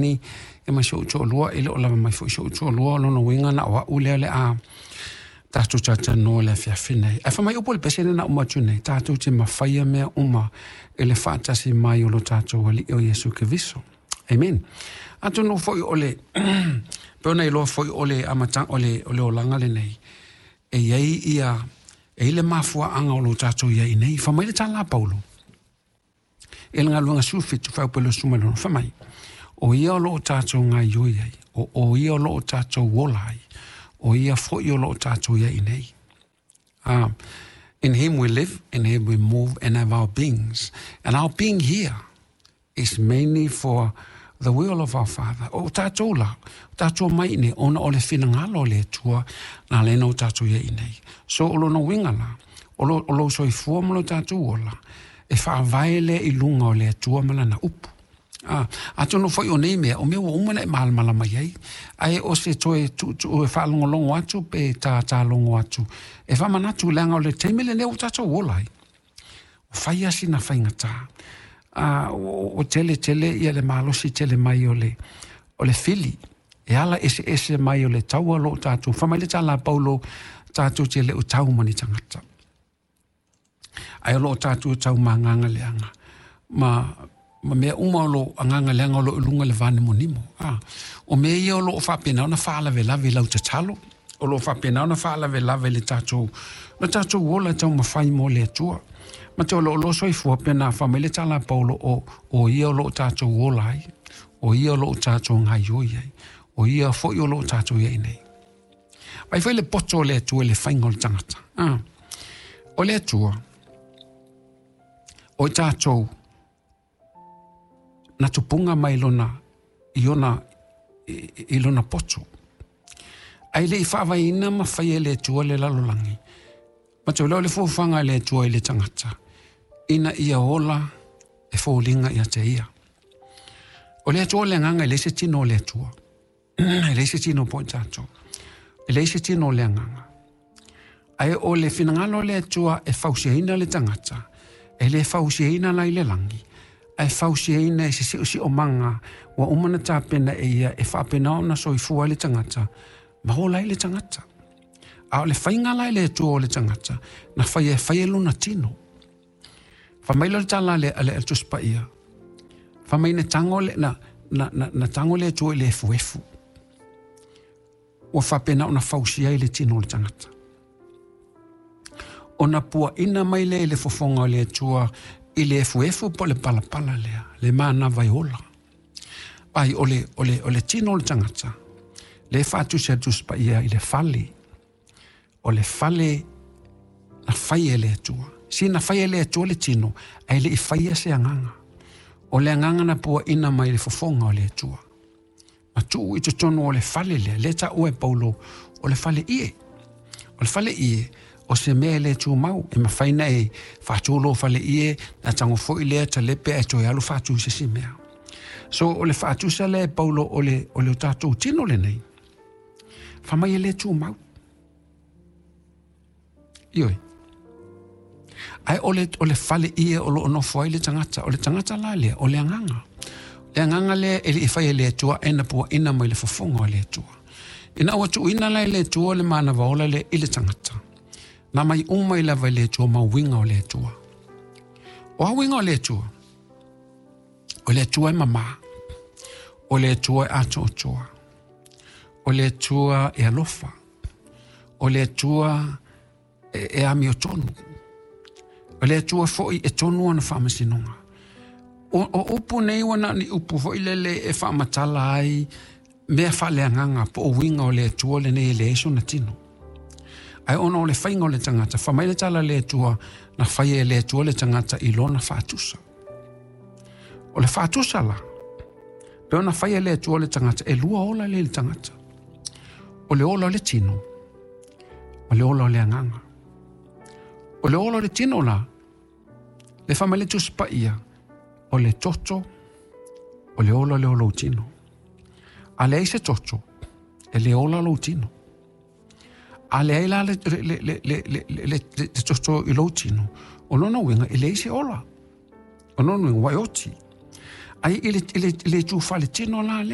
Ni e ma si ou toalua, e le o lava mai foi si ou toalua, o lona uiga na o a'u lea o le a tatou talatalanoa i le afiafi nei. Ae fai mai upu o le pese lea na uma atu nei, tatou te mafaia mea uma i le faatasi mai o lo tatou Alii o Iesu Keriso. Amen. Atonu foi o le pei ona iloa foi o le amataga o le o le olaga lenei, e i ai ia e i ai le mafuaaga o lo tatou i ai nei. Fai mai le tala a Paulo, E le galuega 17 fuaiupu 26, fai mai, O ia o lo o tatou gaoioi ai, o ia o lo o tatou ola ai, o ia foi o lo o tatou i ai nei. In him we live, in him we move and have our beings. And our being here is mainly for the will of our Father. O tatou la, o tatou mai nei, ona o le finagalo o le Atua, na ala ai ona o tatou i ai nei. So o lona uiga la, o lo, o lou soifua ma lo tatou ola, e faavae lea i luga o le Atua ma Lana upu. A, atonu foi o nei mea, o mea ua uma ona e malamalama i ai, ae o se toe tuutuu e faalogologo atu pe tātālogo atu, e faamanatu leaga o le taimi lenei ua tatou ola ai. Ua fai lava sina faigata. A, ua tele tele ia le malosi tele mai o le, o le fili, e ala eseese mai o le taua o lo o tatou. Fai mai le tala a Paulo, tatou te le o tau ma ni tagata. Ae o lo o tatou tau ma agaga leaga, ma, ma mea uma o lo o agaga leaga o lo o i luga i le vanimonimo. A, o mea ia o lo o faapena ona faalavelave i lau tatalo, o lo o faapena ona faalavelave i le tatou, le tatou ola e taumafai mo le Atua. Ma te o lo o lo soifua pena fai mai le tala a Paulo o, o ia o lo o tatou ola ai, o ia o lo o tatou gaoioi ai, o ia foi o lo o tatou i ai nei. Vaai foi le poto o le Atua i le faiga o le tagata. Ah. O le Atua, o i tatou na tupunga mai lona, i ona, i, i lona poto. Ae le i faavaeina ma faia e le Atua le lalolagi, ma te o le fuafuaga a le Atua i le tagata, ina ia ola e foliga ia te ia. O le Atua o le agaga e leai se tino o le Atua. E leai se tino po i tatou. E leai se tino o le agaga. Ae o le finagalo o le Atua e fausiaina le tagata, e le fausiaina la i le lagi, ae fausiaina i se siosiomaga ua uma ona tapena e ia e faapena ona soifua ai le tagata ma ola ai le tagata. A o le faiga la e le Atua o le tagata, na faia e fai e lona tino. Fai mai lea o le tala a le, a le Tusi Paia, fai mai na tago le, na, na, na, na tago le Atua i le efuefu. Ua faapena ona fausia ai le tino o le tagata. Ona puaina mai lea i le fofoga o le Atua i le efuefu po o le palapala lea, le manava e ola. Ai, o le, o le, o le tino o le tagata, le faatusi a le Tusi Paia i le fale, o le fale na fai e le Atua. Si na fai e le Atua le tino, ae le i faia se agaga. O le agaga na puaina mai le fofoga o le Atua. Ma tuu i totonu o le fale lea, lea taua e Paulo, o le fale ie. O le fale ie, o se mea e le tumau, e mafai ona e faatu lou fale ie, na tago foi lea talepe ae toe alu faatu i se isi mea. So o le faatusa lea e Paulo o le, o le tatou tino lenei, fai mai e le tumau. Ioe. Ae o le, o le fale ie o lo o nofo ai le tagata, o le tagata la lea, o le agaga. Le agaga lea e le i fai e le Atua, e na puaina mai le fofoga o le Atua. Ina ua tuuina la e le Atua le manava ola lea i le tagata, na mai uma i lava i le Atua ma uiga o le Atua. O a uiga o le Atua? O le Atua e mamā. O le Atua e atoatoa. O le Atua e alofa. O le Atua e, e amiotonu. O le Atua foi e tonu ana faamasinoga. O, o upu nei ua na o ni upu foi lele e faamatala ai mea faaleagaga po o uiga o le Atua lenei e leai sona tino. Ae ona o le faiga o le tagata, fai mai le tala a le Atua, na faia e le Atua le tagata i lona faatusa. O le faatusa la, pe ona faia e le Atua le tagata, e lua ola lea i le tagata. O le ola o le tino, ma le ola o le agaga. O le ola o le tino la, le fai mai le Tusi Paia, o le toto, o le ola lea o lou tino. A leai se toto, e le ola lou tino. A leai la le, le, le, le, le, le, le, le toto i lou tino, o lona uiga e leai se ola. O lona uiga ua e oti. Ai i le itu faaletino la lea.